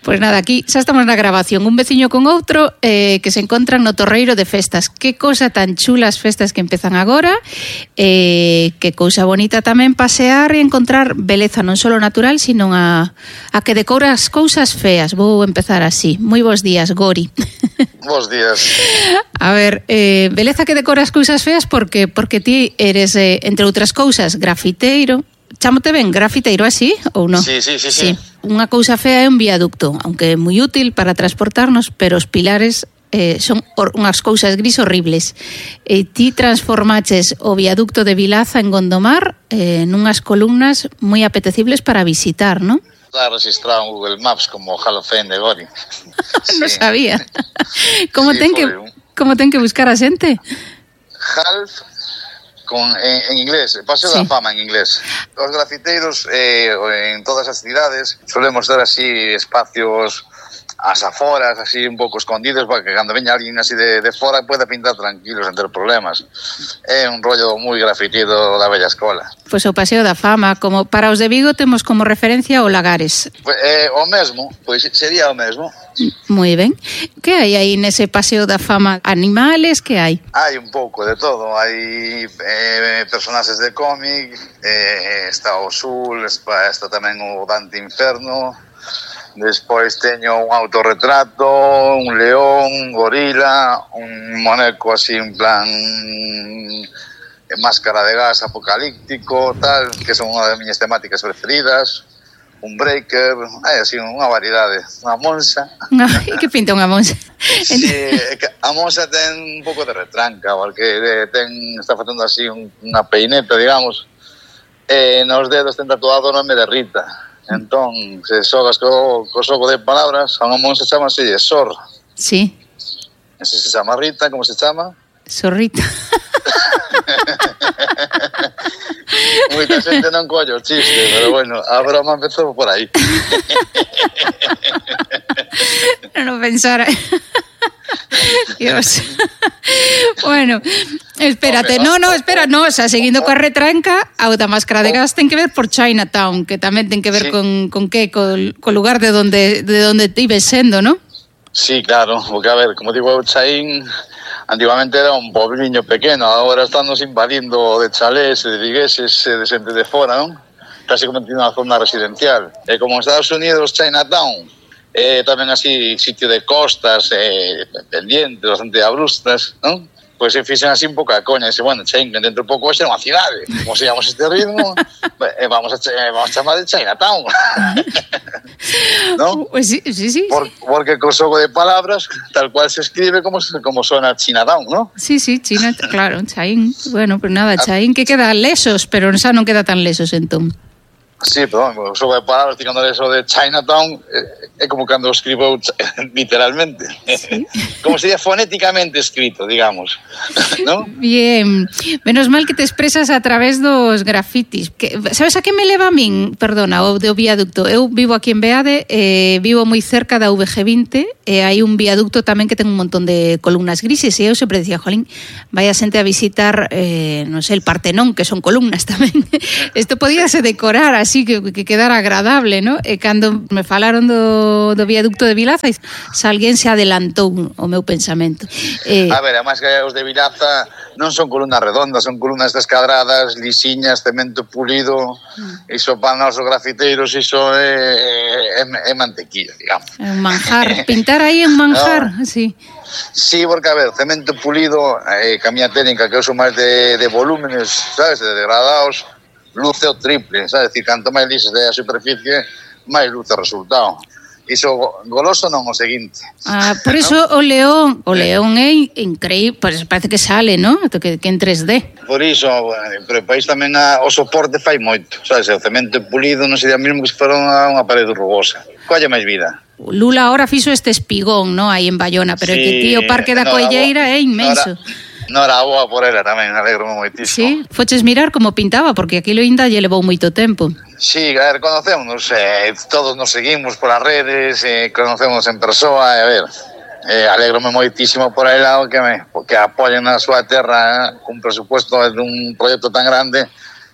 Pois nada, aquí xa estamos na grabación. Un veciño con outro que se encontran no Torreiro de Festas. Que cousa tan chula as festas que empezan agora. Que cousa bonita tamén pasear e encontrar beleza non só natural, sino a que decora as cousas feas. Vou empezar así. Moi bons días, Gori. Bos días. A ver, beleza que decora as cousas feas porque ti eres, entre outras cousas, grafiteiro. Chámote ben grafiteiro así ou non? Sí. Unha cousa fea é un viaducto, aunque é moi útil para transportarnos, pero os pilares son unhas cousas gris horribles. E ti transformaches o viaducto de Vilaza en Gondomar nunhas columnas moi apetecibles para visitar, non? Está registrado en Google Maps como Hall of Fame de Gori. Non sabía. Como ten que buscar a xente? Half en inglés, Paseo da Fama en inglés. Os grafiteiros en todas as cidades solemos ter así espacios ás aforas, así un pouco escondidos para que cando veña alguén así de fora pueda pintar tranquilos sen ter problemas. É un rollo moi grafitido da bella escola. Pois o Paseo da Fama, como para os de Vigo temos como referencia o Lagares. O mesmo, pois sería o mesmo. Moi ben. Que hai aí nese Paseo da Fama? Animales, que hai? Hai un pouco de todo. Hai personaxes de cómic, está o Sul, está tamén o Dante Inferno, despois teño un autorretrato, un león, un gorila, un moneco así en plan máscara de gas apocalíptico, tal, que son unha das miñas temáticas preferidas. Un breaker, hai así unha variedade. Unha monxa. E que pinta unha monxa? Sí, a monxa ten un pouco de retranca, porque está facendo así unha peineta, digamos, e nos dedos ten tatuado o nome de Rita. Entón, se xogas co xogo de palabras, a unha monxa chamase Sor. Sí. E se chama Rita, como se chama? Sorrita. Moita xente non collo o chiste, pero bueno, a broma empezou por aí. Non pensara. Dios. Bueno, espérate, espera, xa seguindo coa retranca, a da máscara de gas ten que ver por Chinatown, que tamén ten que ver con lugar de donde ti ves sendo, ¿no? Sí, claro, porque a ver, como digo, Chaín antigamente era un pobliño pequeno, agora estamos invadindo de chalés, de vigueses, de xente de fora, non? Casi como tiene unha zona residencial. E como en Estados Unidos, Chinatown, tamén así sitio de costas, pendientes, bastante abruptas, non? Pois se fixen así un pouco a coña, e bueno, Chain, dentro de pouco vai ser unha cidade, como se llamamos este ritmo, vamos a chamar de Chinatown. ¿No? Pues sí. Porque co xogo de palabras, tal cual se escribe como sona Chinatown, ¿no? Sí, China, claro, Chain. Bueno, pues nada, Chain que queda lesos, pero xa non queda tan lesos entón. Sí, perdón, o xogo de palabras, ficando eso de Chinatown, é como cando o escribo literalmente. Sí. Como sería fonéticamente escrito, digamos, ¿no? Bien, menos mal que te expresas a través dos grafitis. Sabes a que me leva a min? Perdona, o do viaducto. Eu vivo aquí en Beade, vivo moi cerca da VG20, e hai un viaducto tamén que ten un montón de columnas grises, e eu sempre dicía, jolín, vai a xente a visitar, non sei, el Partenón, que son columnas tamén. Isto podíase decorar así, que quedara agradable, ¿no? E cando me falaron do viaducto de Vilaza, se alguén se adelantou o meu pensamento. A ver, además que os de Vilaza non son columnas redondas, son columnas descadradas, lisiñas, cemento pulido, iso para nosos grafiteiros, iso é mantequilla, digamos. É un manjar, pintar aí é un manjar, no. Sí. Sí, porque, a ver, cemento pulido, que a miña técnica que uso máis de volúmenes, sabes, de degradados, luce o triple, sabes? Decir, canto máis lises de a superficie, máis luce o resultado. Iso goloso non o seguinte. Por iso ¿no? o león é increíble, pues parece que sale, ¿no? Que en 3D. Por iso, pero o país tamén o soporte fai moito, sabes? O cemento pulido non sería mesmo que se fora unha parede rugosa. Colle máis vida. Lula ahora fixo este espigón, ¿no? Aí en Bayona, pero sí, que tío, o Parque da Colleira é inmenso. Non era boa por ela tamén, alegro moitísimo. Sí, foches mirar como pintaba, porque aquilo ainda lle levou moito tempo. Sí, a ver, conocémonos, todos nos seguimos polas redes, conocemos en persoa, a ver, alegrome moitísimo por ela que apoyen na súa terra un presupuesto dun proxecto tan grande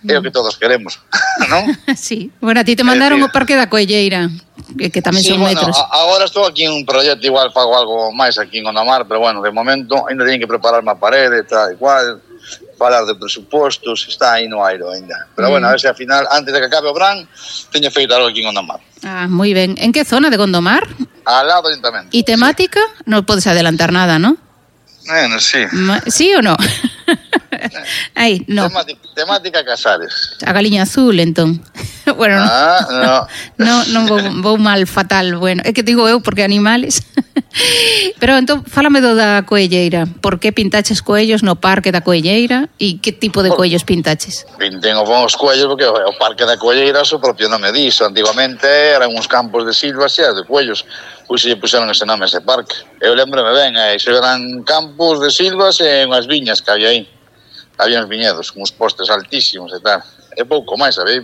É o que todos queremos, non? Sí. Bueno, a ti te mandaron o Parque da Coelleira, que tamén sí, son bueno, metros. Agora estou aquí en un proxecto, igual fago algo máis aquí en Gondomar, pero bueno, de momento ainda teño que preparar unha parede, tal, igual, falar de presupostos, está aí no aire ainda. Pero bueno, a ver se ao final, antes de que acabe o verán, teño feito algo aquí en Gondomar. Ah, moi ben. En que zona de Gondomar? Al lado do ayuntamiento. E temática? Sí. Non podes adelantar nada, ¿no? Bueno, sí. ¿Sí o no? Aí, no. Temática Casares. A galiña azul, entón. Bueno, non vou mal, fatal. Bueno, é que digo eu porque animales. Pero entón, fálame do da Coelleira. Por que pintaches coellos no Parque da Coelleira e que tipo de coellos pintaches? Pintén os coellos porque o Parque da Coelleira o propio nome diso. Antiguamente eran uns campos de silvas e de coellos. Pois se puseron ese nome a ese parque. Eu lembrome ben, iso eran campos de silvas e unhas viñas que había aí. Había uns viñedos, uns postes altísimos e tal. E pouco máis, sabéis?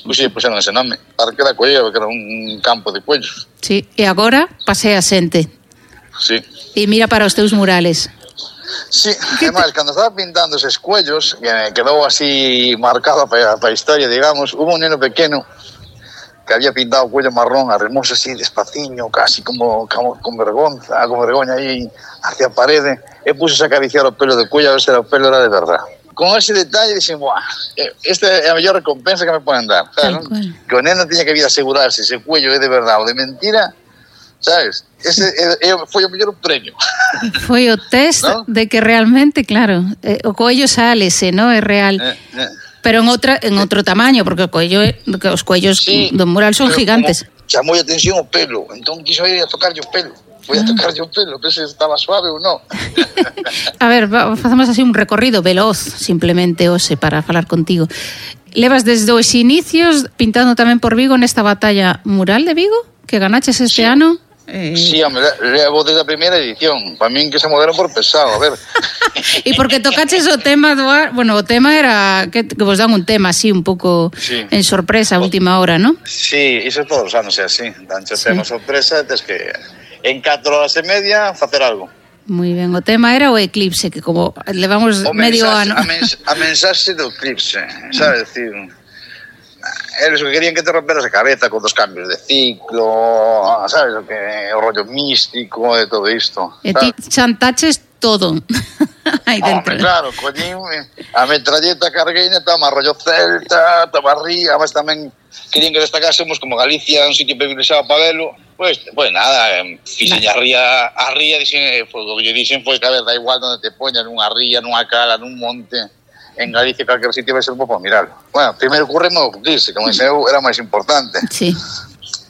Pois se puseron ese nome, Parque da Coelleira, porque era un campo de coellos. Sí, e agora pasea xente. Sí. E mira para os teus murales. Sí, además, cando estaba pintando eses coellos, que quedou así marcado para a historia, digamos, hubo un neno pequeno que había pintado o cuello marrón, arremoso así despaciño, casi como con vergoña aí hacia a parede, e puxo a acariciar o pelo do cuello a ver se o pelo era de verdad. Con ese detalle dixen, buah, esta é a mellor recompensa que me poden dar, sabes? Que o neno tiña que vir a asegurarse se o cuello é de verdad ou de mentira, sabes? Ese foi o mellor premio. Foi o test, ¿no? De que realmente, claro, o cuello sálese, ¿no? É real. Pero en outro tamaño, porque os cuellos sí, do mural son gigantes. Chamou a atención o pelo, entón quiso ir a tocarlle o pelo. Foi a tocarlle o pelo, pero se estaba suave ou non. A ver, facemos así un recorrido veloz, simplemente, hoxe, para falar contigo. Levas desde os inicios pintando tamén por Vigo nesta batalla mural de Vigo, que ganaches este ano? Sí, hombre, levo desde a primeira edición. Para min que se moveron por pesado, a ver. E porque tocaches o tema do ar... Bueno, o tema era que vos dan un tema así un pouco sí, en sorpresa a última hora, ¿no? Sí, iso todos os anos é así. Danche sí, tema sorpresa, tes que en 4 horas e media facer algo. Moi ben, o tema era o eclipse, que como levamos medio ano... A mensaxe do eclipse, sabes, decir... Eles que querían que te romperas a cabeza con dos cambios de ciclo, sabes, o rollo místico e todo isto. E ti chantaches todo. Aí dentro. Claro, collín a metralleta cargueina, toma rollo celta, toma ría, mas tamén querían que destacásemos como Galicia, un sitio privilexiado para velo. Pues nada, fixen a ría, dixen, o que lle dixen foi que a ver, da igual onde te poñan, nunha ría, nunha cala, nun monte. En Galicia calquer sitio vai ser un pouco a mirarlo. Bueno, primeiro curreme o dice, como ese era máis importante. Sí.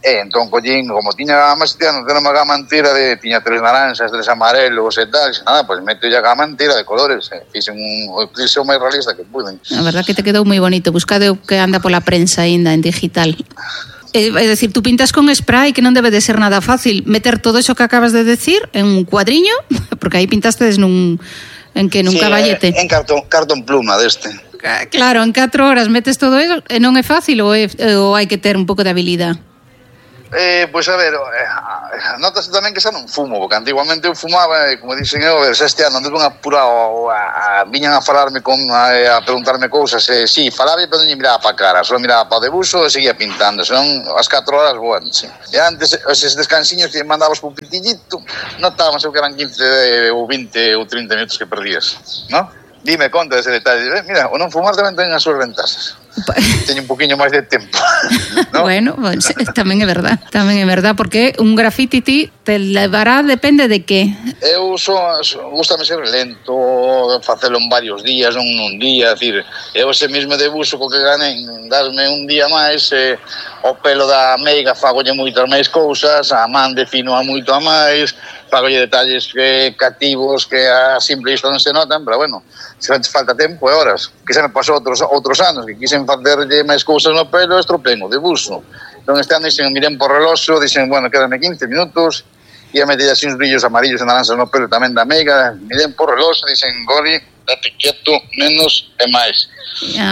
Entón, collín, como tiña máis tiña unha gama entera tiña 3 naranxas, 3 amarelos e tal, nada, pois meto ya gama entera de colores, fixen un eclipse o máis realista que puden. A verdad que te quedou moi bonito, buscade o que anda pola prensa aínda en digital. É dicir, tú pintas con spray, que non debe de ser nada fácil meter todo eso que acabas de decir en un cuadriño, porque aí pintaste nun caballete. En cartón pluma deste. Claro, en 4 horas metes todo eso e non é fácil ou hai que ter un pouco de habilidade? Pois a ver, notas tamén que xa non fumo, porque antiguamente eu fumaba e como dixen eu, este ano anduve apurado, viñan a falarme a preguntarme cousas, sí, falaba pero non miraba para cara, só miraba para o debuxo e seguía pintando, senón as 4 horas, bueno, sí. E antes, eses descansiños que mandabas por pitillito, notábamos que eran 15 ou 20 ou 30 minutos que perdías, ¿no? Dime conta dese detalle, mira, o non fumar tamén ten as súas ventaxas. Teño un poquinho máis de tempo, ¿no? Bueno, pues, tamén é verdad, porque un graffiti te levará, depende de que. Eu gustame ser lento, facelo en varios días, non nun día, decir, eu ese mesmo debuxo co que ganen, dasme un día máis, o pelo da meiga fagolle moitas máis cousas, a man defino a moito a máis, fagolle detalles cativos que a simple vista non se notan, pero bueno, se falta tempo e horas, que se me pasou outros anos, que quixen facerlle máis cousas no pelo, estropen o debuxo. Entón este ano dixen, miren por reloxo, dixen, bueno, quedanme 15 minutos, e a meter así uns brillos amarillos e naranxas no pelo tamén da meiga, miren por reloxo, dixen, Gori, date quieto, menos e máis.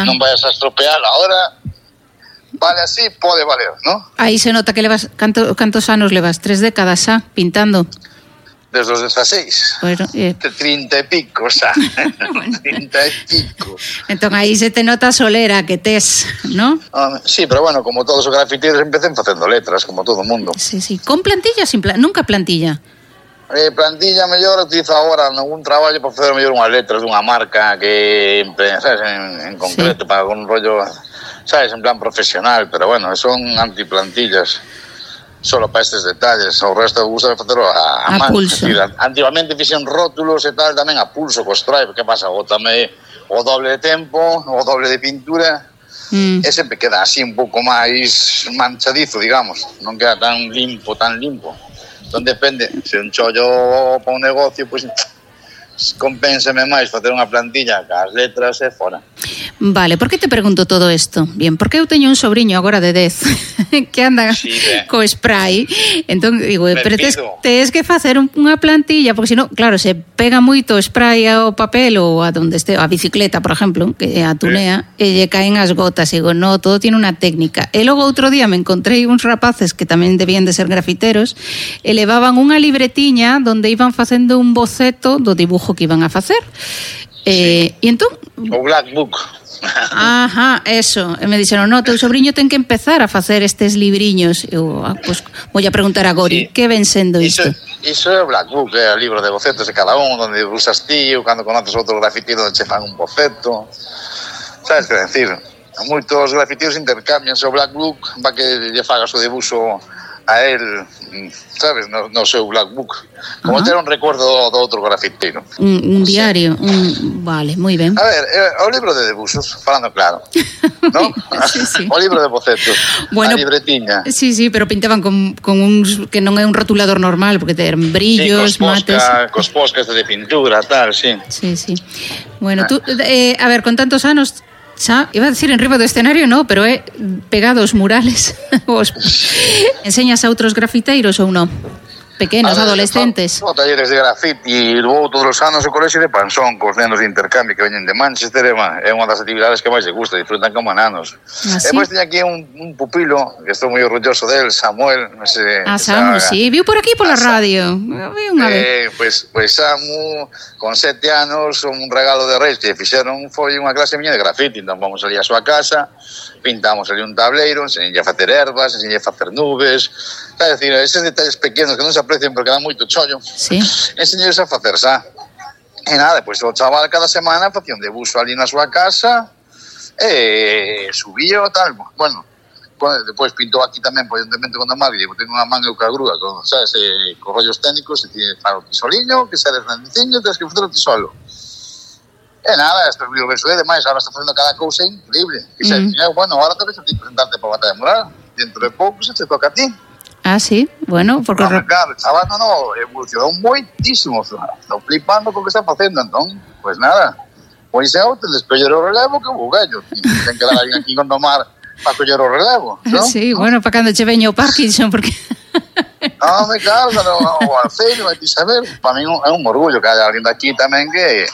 Non vayas a estropear ahora, vale así, pode valer, ¿no? Aí se nota que levas, cantos anos levas? 3 décadas xa, pintando? desde os 16. Bueno, 30 e pico, xa. 30 e pico. Entón aí se te nota a solera que tes, ¿no? Sí, pero bueno, como todos os grafiteiros empecen facendo letras, como todo o mundo. Sí, sí. Con plantilla, nunca plantilla? Plantilla mellor utilizo agora nalgún traballo para facer mellor unhas letras dunha marca que, sabes, en concreto, para un rollo, sabes, en plan profesional, pero bueno, son antiplantillas. Solo para estes detalles, o resto gusta facelo a man. Pulso. Decir, antigamente fixen rótulos e tal tamén a pulso co stripe, que pasa? Bótame o doble de tempo, o doble de pintura, e sempre queda así un pouco máis manchadizo, digamos, non queda tan limpo. Entón depende, se un chollo para un negocio, pois compénsame máis facer unha plantilla cas letras e fora. Vale, por que te pregunto todo isto? Bien, porque eu teño un sobrinho agora de 10 que anda co spray. Entón, digo, pero tes que facer unha plantilla, porque senón, claro, se pega moito spray ao papel ou a donde este, a bicicleta, por exemplo, que a tunea, e lle caen as gotas. E digo, no, todo tiene unha técnica. E logo outro día me encontrei uns rapaces que tamén debían de ser grafiteros e levaban unha libretiña donde iban facendo un boceto do dibujo que iban a facer. E entón... O Black Book. Ajá, eso. E me dixeron, no, teu sobrinho ten que empezar a facer estes libriños. Eu, pues, vou a preguntar a Gori, que ven sendo isto? Iso é o Black Book, é o libro de bocetos de cada un, onde usas ti, ou cando conoces outro grafiteiro onde che fan un boceto. Sabes que decir? Moitos grafiteiros intercambian o Black Book para que lle fagas o debuxo a él, sabes, no seu Black Book. Como ter un recuerdo do outro grafiteiro. Un diario, vale, moi ben. A ver, o libro de debuxos, falando claro, ¿no? Sí. O libro de bocetos, bueno, a libretiña. Sí, pero pintaban con uns que non é un rotulador normal, porque ten brillos, mates. Cos poscas de pintura, tal, sí. Sí. Bueno, tú, a ver, con tantos anos... Xa, iba a decir en riba do escenario, no, pero é pegado os murales. Enseñas a outros grafiteiros ou non? Pequenos, adolescentes. Son talleres de grafiti, vou todos os anos ao colexio de Pansón cos nenos de intercambio que veñen de Manchester, é unha das actividades que máis se gusta, disfrutan como nanos. E depois teño aquí un pupilo que estou moi orgulloso del, Samuel, non sei. Samu, sí, viu por aquí pola radio. Vi unha vez. Pois Samu, con 7 anos, un regalo de Reis que fixeron foi unha clase miña de grafiti, entón vamos ali a súa casa, pintamos ali un tableiro, enseñei a facer ervas, enseñei a facer nubes, é dicir, eses detalles pequenos que non se aprecian porque dan moito chollo, enseñei a facer xa. E nada, depois o chaval cada semana facía un debuxo ali na súa casa e subía o tal, bueno, depois pintou aquí tamén, evidentemente, con a máquina, tengo unha manga ca grúa, con, sabes, con rollos técnicos, e tiene para o tisoliño, que sale grandeciño, tens que facer o tisolo. E nada, isto é o verso de demais, ahora está facendo cada cousa increíble. E bueno, ahora te ves a ti presentarte para a batalla mural, dentro de pouco se te toca a ti. Ah, sí, bueno, porque... Claro, chaval, no, evolucionou moitísimo, estou flipando con o que está facendo, entón, pues nada, pois é outro, descoller o relevo que o gallo, ten que dar alguén aquí con tomar para coller o relevo, non? Sí, bueno, para cando che veño o Parkinson, porque... No, me carga, o Alceiro, vai ti saber, para mí é un orgullo que haya alguén daqui tamén que...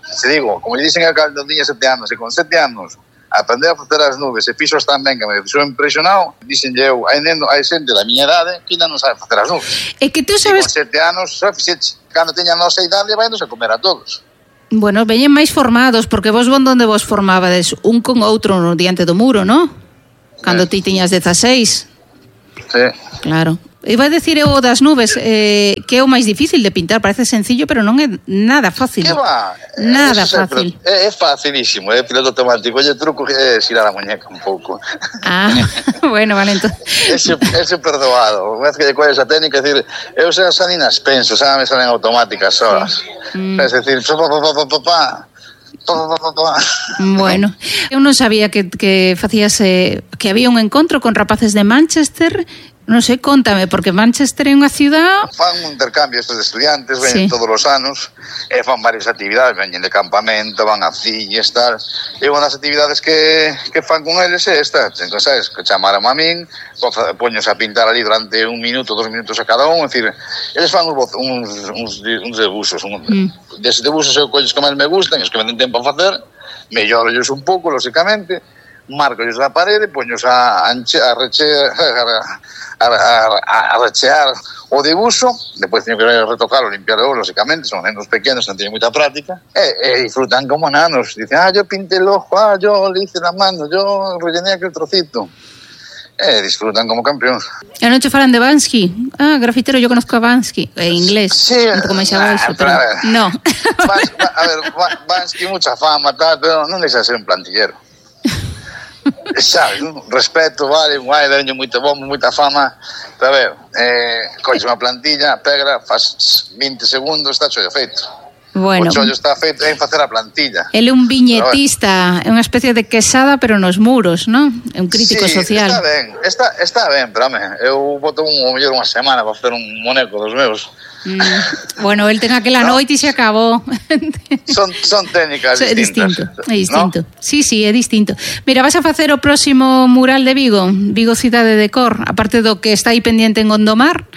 Se digo, como lle dicen a cando tiña 7 anos, e con 7 anos aprender a facer as nubes e fixos tan ben que me fixou impresionado, dixenlle eu, hai xente da miña idade que ainda non sabe facer as nubes. É que tú sabes... E con 7 anos, xa fixeche, cando teña a nosa idade, vai nos a comer a todos. Bueno, veñen máis formados, porque vos onde vos formabades un con outro no diante do muro, non? Cando ti tiñas 16. Sí. Claro. Iba a decir o das nubes, que é o máis difícil de pintar, parece sencillo, pero non é nada fácil. Que va? Nada fácil. É facilísimo, é piloto automático. Oye, truco é xirar a muñeca un pouco. Ah, bueno, vale, entón. Ese perdoado. Unha vez que lle colles a técnica, é dicir, eu xa nin as penso, xa me salen automáticas solas. É dicir, Bueno, eu non sabía que facías que había un encontro con rapaces de Manchester. Non sei, contame, porque Manchester é unha ciudad... Fan un intercambio estes de estudiantes, ven todos os anos, e fan varias actividades, veñen de campamento, van a filles, tal. E unha das actividades que fan con eles é esta, entón, sabes, que chamaron a min, poños a pintar ali durante 1 minuto, 2 minutos a cada un, é dicir, eles fan uns debuxos, deses debuxos eu colles que máis me gustan, os que me den tempo a facer, mellorollos un pouco, lógicamente, marcos a parede, poños a rechear o dibuixo, depois teño que retocarlo, limpiarlo, lógicamente, son nenos pequenos, non teñen moita práctica, e disfrutan como nanos, dicen, yo pinté el ojo, yo le hice la mano, yo rellené aquel trocito. Disfrutan como campeóns. E non che falan de Bansky? Grafitero, yo conozco a Bansky. En inglés. Sí, un pouco máis abaixo, pero no. Bansky, mucha fama, tal, pero non deixa de ser un plantillero. Sabes, respeto, vale, guai, daño moito bombo, moita fama. Pero a ver, coches unha plantilla, pega, faz 20 segundos, está chollo feito. Bueno, o chollo está feito en facer a plantilla. Ele é un viñetista, é unha especie de quesada, pero nos muros, non? É un crítico social. Está ben, pero home, eu boto mellor unha semana para facer un moneco dos meus. Bueno, el ten aquela noite e se acabou. Son técnicas distintas. É distinto. ¿No? Sí, é distinto. Mira, vas a facer o próximo mural de Vigo, Vigo Cidade de Cor, aparte do que está aí pendiente en Gondomar.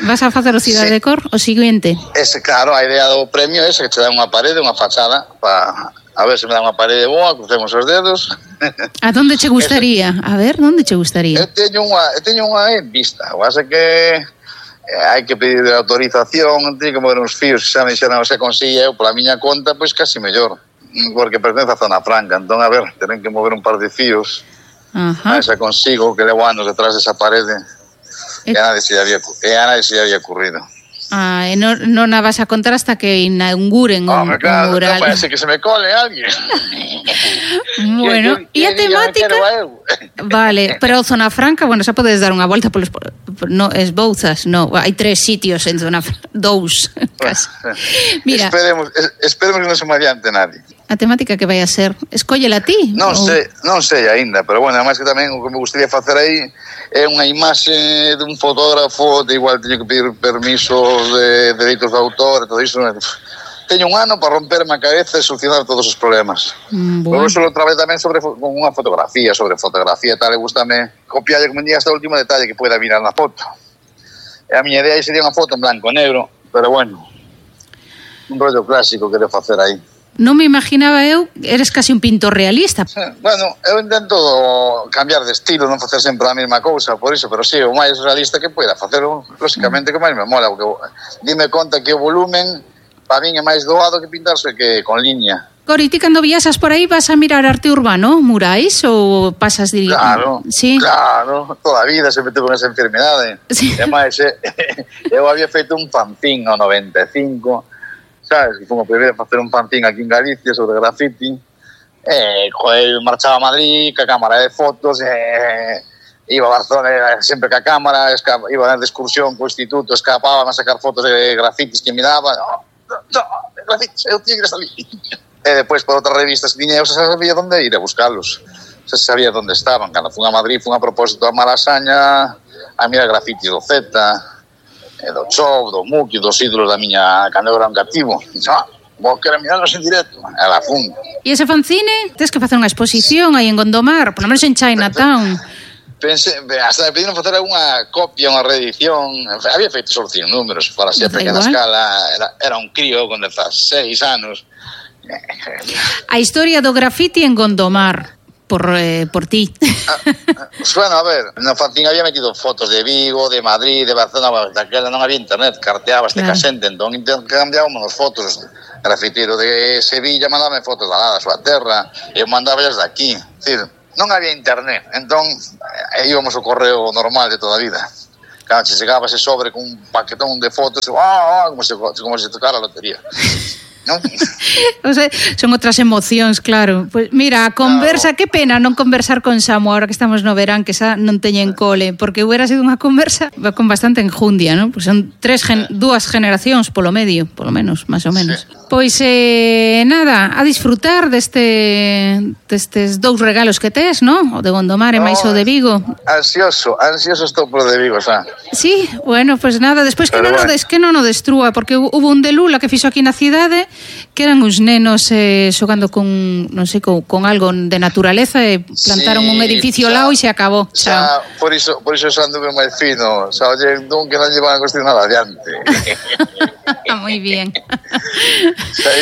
Vas a facer o Cidade de Cor, o seguinte? Claro, a idea do premio é que te dá unha parede, unha fachada, para a ver se me dá unha parede boa, crucemos os dedos. A donde che gustaría? A ver, onde che gustaría? Eu teño unha en vista, o hace que hai que pedir autorización, teño que mover uns fíos, xa me dixeron, se consigue eu pola miña conta, pois casi mellor, porque pertence a Zona Franca, entón, a ver, tenen que mover un par de fíos, a xa consigo, que levo anos detrás desa parede. E a nadie se lle había ocurrido. E non a vas a contar hasta que inauguren un mural. Non parece que se me cole alguén. Bueno, e a temática? Vale, pero Zona Franca, bueno, xa podes dar unha volta polos... No, esbouzas, no, hai 3 sitios en Zona Franca, 2, casi. Mira, esperemos que non se me adiante nadie. A temática que vai a ser, escóllela ti? Non sei aínda, pero bueno, además que tamén o que me gustaría facer aí é unha imaxe dun fotógrafo, de igual teño que pedir permiso de dereitos de autor, todo iso. Teño un ano para romperme a cabeza e solucionar todos os problemas. Bueno. Por eso lo traballei tamén con unha fotografía, sobre fotografía e tal, e gustame copiarlle como día hasta o último detalle que pueda mirar na foto. E a miña idea sería unha foto en blanco e negro, pero bueno, un rollo clásico que quero facer aí. Non me imaginaba eu, eres casi un pintor realista. Bueno, eu intento cambiar de estilo, non facer sempre a mesma cousa, por iso, pero sí, o máis realista que poida facelo, lógicamente, que máis me mola, porque dime conta que o volumen para min é máis doado que pintarse que con liña. Cori, ti cando viaxas por aí vas a mirar arte urbano, murais, ou pasas de... Claro, sí? Claro, toda a vida sempre tuve esa enfermedade. Sí. E máis, eu había feito un fanzín no 95, sabes, que fomos primeiro a facer un fanzín aquí en Galicia sobre graffiti, marchaba a Madrid ca cámara de fotos, iba a Barcelona sempre ca cámara, iba de excursión co instituto, escapaba a sacar fotos de grafitis que miraba, grafitis, eu tinha que ir a salir. E depois por outras revistas que tiña, eu xa sabía onde ir a buscarlos, xa sabía onde estaban. Cando fun a Madrid, fun a propósito a Malasaña a mirar grafitis do Zeta, do Chov, do Muki, dos ídolos da miña cando era un cativo. Vou querer mirarlos en directo. Era fun. E ese fanzine? Tens que facer unha exposición aí en Gondomar, por lo menos en Chinatown. Pensei, hasta me pediron facer unha copia, unha reedición. Había feito solo 100 números, para así a pequena escala. Era un crío con 16 anos. A historia do graffiti en Gondomar. Por ti. Bueno, a ver, no fanzín había metido fotos de Vigo, de Madrid, de Barcelona, daquela non había internet, carteabas de casente, entón intercambiábamos fotos. Grafitero de Sevilla mandaba fotos da súa terra, e eu mandaba de aquí. É dicir, non había internet, entón íbamos ao correo normal de toda a vida. Claro, se chegaba ese sobre con un paquetón de fotos, como se tocara a lotería. Non? O sea, son outras emocións, claro. Pues mira, a conversa, que pena non conversar con Samu ahora que estamos no verán, que xa non teñen cole, porque hubiera sido unha conversa con bastante enjundia, ¿no? Pues son dúas generacións polo medio, polo menos, máis ou menos. Sí. Pois nada, a disfrutar destes 2 regalos que tes, ¿no? O de Gondomar e máis o de Vigo. Ansioso estou por de Vigo, xa. Sí, bueno, pues nada, despois que non o destrúa, porque hubo un de Lula que fixo aquí na cidade, que eran uns nenos xogando con, non sei, con algo de naturaleza e plantaron un edificio ao lado e se acabou. Xa, por iso xa anduve máis fino, xa oye, que non llevan a cuestión nada adiante. Moi bien.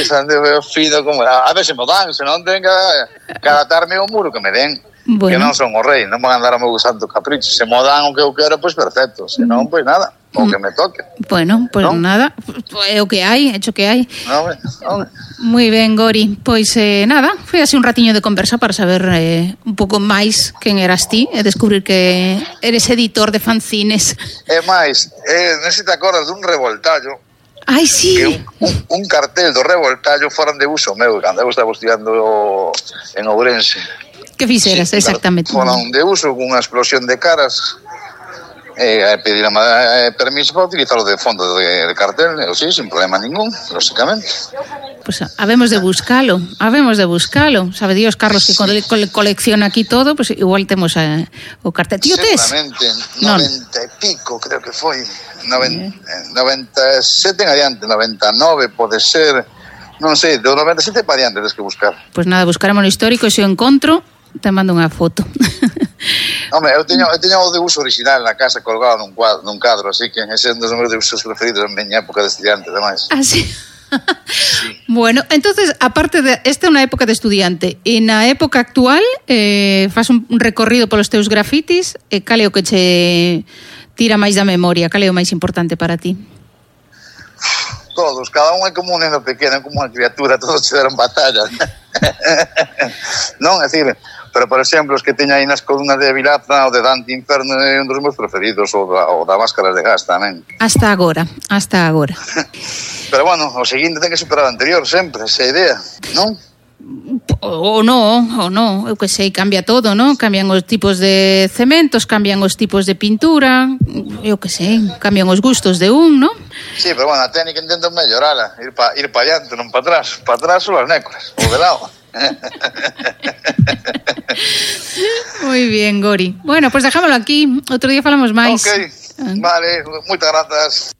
Xa anduve fino como, a ver se me dan, se non ten que atarme o muro que me den. que non son o rei, non van a andar a meu santo capricho. Se mo dan o que eu quero, pois perfecto, se non, pois nada, o que me toque. Bueno, pois ¿no? Nada, é o que hai, hecho que hai. No. Moi ben, Gori, pois nada, foi así un ratiño de conversa para saber un pouco máis quen eras ti e descubrir que eres editor de fanzines. E máis, non sei te acordas dun revoltallo. Ai, sí. Que un cartel do revoltallo foran de uso meu, cando eu estaba estudiando en Ourense. Que fixeras, exactamente? Foran de uso cunha explosión de caras pedir permiso para utilizarlo de fondo de cartel, sí, sin problema ningún, lógicamente. Pues habemos de buscalo. Sabe Dios, Carlos, que colecciona aquí todo, pues igual temos o cartel. Tío, tes? Seguramente, 90 e pico, creo que foi. 97 en adiante, 99 pode ser, non sei, do 97 para adiante tens que buscar. Pues nada, buscaremos no histórico e se o encontro te mando unha foto. Hombre, eu teño o de uso original na casa colgado nun cadro, así que ese é un dos meus de usos preferidos en miña época de estudiante, ademais. Ah, sí. Sí. Bueno, entonces, aparte de esta é unha época de estudiante, e na época actual fas un recorrido polos teus grafitis, cal é o que che tira máis da memoria, cal é o máis importante para ti? Todos, cada un é como un neno pequeno, é como unha criatura, todos se deron batalla. Non, é dicir, pero por exemplo, os que teña aí nas columnas de Vilaza, o de Dante Inferno é un dos meus preferidos, o da Máscaras de Gas tamén. Hasta agora. Pero bueno, o seguinte ten que superar o anterior sempre, esa idea, non? O no, eu que sei, cambia todo, non? Cambian os tipos de cementos, cambian os tipos de pintura, eu que sei, cambian os gustos de un, non? Sí, pero bueno, a técnica intento mellorala, ir pa adiante, non pa atrás son as nécoras, o de lado. Moi bien, Gori. Bueno, pues dejámoslo aquí, outro día falamos máis. Ok, vale, moitas grazas.